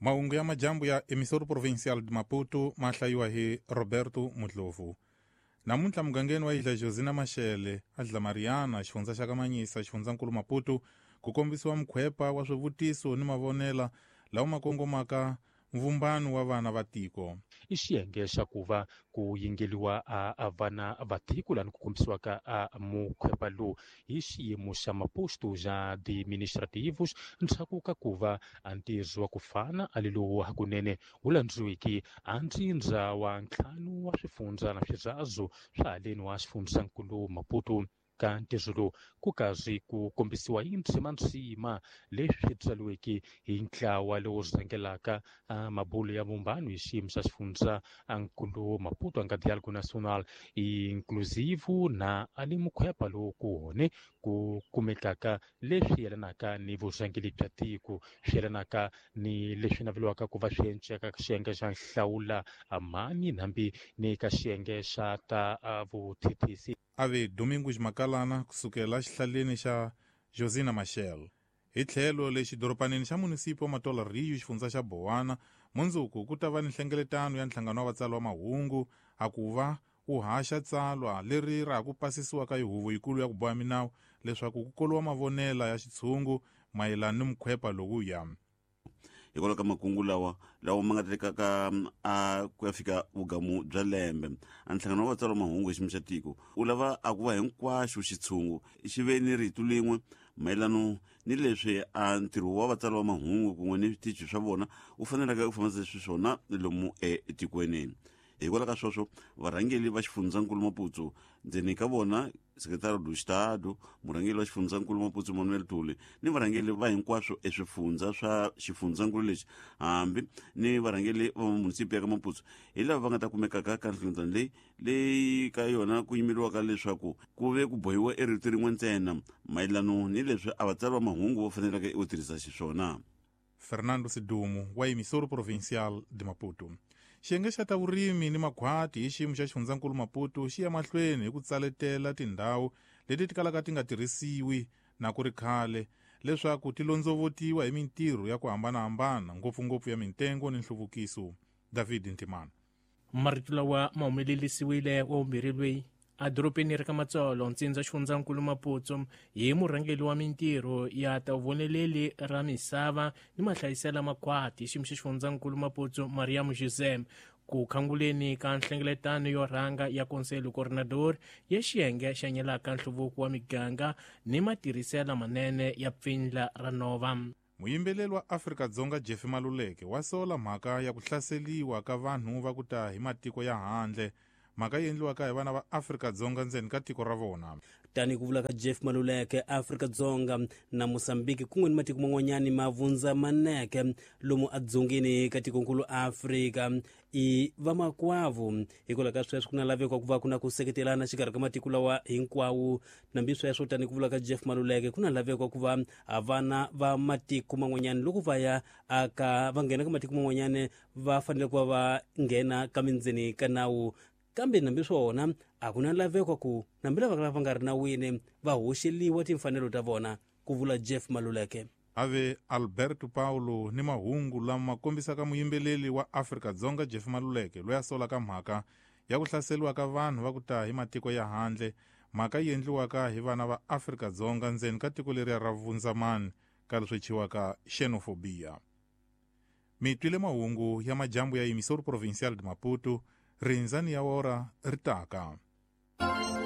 Mahungu ya majambu ya Emissora Provincial de Maputo ma hlayiwa hi Roberto Mudlovu. Namuntlha mugangeni wa Ilha Josina Machel a Dla Mariana, xifundza xa ka Manhiça, xifundzankulu Maputo, ku kombisiwa mukhwepa wa swivutiso ni mavonela lawa ma kongomaka mvumbano wa vana va tiko. I xiyenge xa ku va ku yingeliwa a vana va tiko lani ku kombisiwaka a mukhwepa lowu hi xiyimo xa maposto xa administrativos ndzhaku ka ku va a ntirho wa ku fana a le lowu hakunene wu landziwiki a ntsindza wa ntlhanu wa swifundza na swirazo swa haleni wa xifundzankulu Maputo. Ka ntirho lowu ku karhi ku kombisiwa hi ndzima leswi tsariweke hi ntlawa lowu rhangelaka mabulo ya vumbano hi xiyimo xa xifundza nkulu Maputo anga Diálogo Nacional Inclusivo na ali mukhwepa lowu ku hone ku kumekaka leswi yelanaka ni vurhangeri bya tiko, swi yelanaka ni leswi naveliwaka ku va swi enceka ka xiyenge xa nhlawula mani hambi ni ka xiyenge xa ta vuthethisi. Ave Domingos Makalana kusukela xihlaleni xa Josina Machel. Hi tlhelo le xidoropanini xa munisipi wa Matola Rio, xifundza xa Bowana, mundzuku ku ta va ni nhlengeletano ya nhlangano wa vatsari va mahungu a ku va wu haxa tsalwa leri ra ha ku pasisiwa ka hi huvo yikulu ya ku boha minawu leswaku ku koliwa mavonela ya xitshungu mayelana ni mukhwepa lowuya. Hikwalaho ka makungu lawa lawa ma nga tekaka a ku ya fika vugamu bya lembe, a nhlangano wa vatsari va mahungu hi xiyimo xa tiko wu lava a ku va hinkwaxo xitshungu xi ve ni rito lin'we mayelano ni leswi a ntirho wa vatsari va mahungu kun'we ni switichi swa vona wu faneleke ku fambisa xiswona lomu etikweni. Hikwalaho ka sweswo varhangeri va xifundzankulu Maputo, ndzeni ka vona Secretario do Estado, murhangeri wa xifundzankulu Maputo Manuel Tuli, ni varhangeri va hinkwaswo eswifundza swa xifundzankulu lexi, hambi ni varhangeri va munisipi ya ka Maputo, hi lava va nga ta kumekaka ka nhlengeletano leyi leyi ka yona ku yimeriwaka leswaku ku ve ku bohiwa erito rin'we ntsena mayelano ni leswi a vatsari va mahungu va faneleke u tirhisa xiswona. Fernando Sidumo wa Emissora Provincial de Maputo. Xiyenge xa ta vurimi ni makhwati hi xiyimo xa xifundzankulu Maputo xi ya mahlweni hi ku tsaletela tindhawu leti ti kalaka ti nga tirhisiwi na ku ri khale leswaku ti londzovotiwa hi mintirho ya ku hambanahambana, ngopfungopfu ya mintengo ni nhluvukiso. David Ntimana. Marito lawa ma humelerisiwile wa vumbirhi loyi a dorobeni ra ka Matsolo, ntsindza xifundzankulu Maputo, hi murhangeri wa mintirho ya ta voneleli ra misava ni mahlayisela makhwati xiyimo xa xifundzankulu Maputo Mariam José, ku khanguleni ka nhlengeletano yo rhanga ya Conselho Coordenador ya xiyenge xa nyelaka nhluvuko wa miganga ni matirhisela manene ya pfindla ra nova. Muyimbeleri wa Afrika-Dzonga Jeff Maluleke wa sola mhaka ya ku hlaseliwa ka vanhu va ku ta hi matiko ya handle, mhaka yi endliwaka hi vana va Afrika-Dzonga ndzeni ka tiko ra vona. Tanihi ku vula ka Jeff Maluleke, Afrika-Dzonga na Mozambique kun'we ni matiko man'wanyani ma vundzamaneke lomu edzongeni ka tikonkulu Afrika i vamakwavo. Hikwalaho ka sweswo ku na laveko ku va ku na ku seketelana xikarhi ka matiko lawa hinkwawo. Nambi sweswo, tanihi ku vula ka Jeff Maluleke, ku na laveko ku va vana va matiko man'wanyani loko va ya aka va nghena ka matiko man'wanyani va fanele ku va va nghena ka mindzeni ka nawu, kambe nambi swona a ku na laveko ku nambi lava va nga ri nawini va hoxeliwa timfanelo ta vona, ku vula Jeff Maluleke. Ave Alberto Paulo ni mahungu lama kombisaka muyimbeleri wa Afrika-Dzonga Jeff Maluleke loyi a solaka mhaka ya ku hlaseriwa ka vanhu va ku ta hi matiko ya handle, mhaka yi endliwaka hi vana va Afrika-Dzonga ndzeni ka tiko leriya ra vundzamani ka leswi thyiwaka xenophobia. Mi twile mahungu ya majambu ya Emissora Provincial de Maputo, rindzani ya ora ri taka.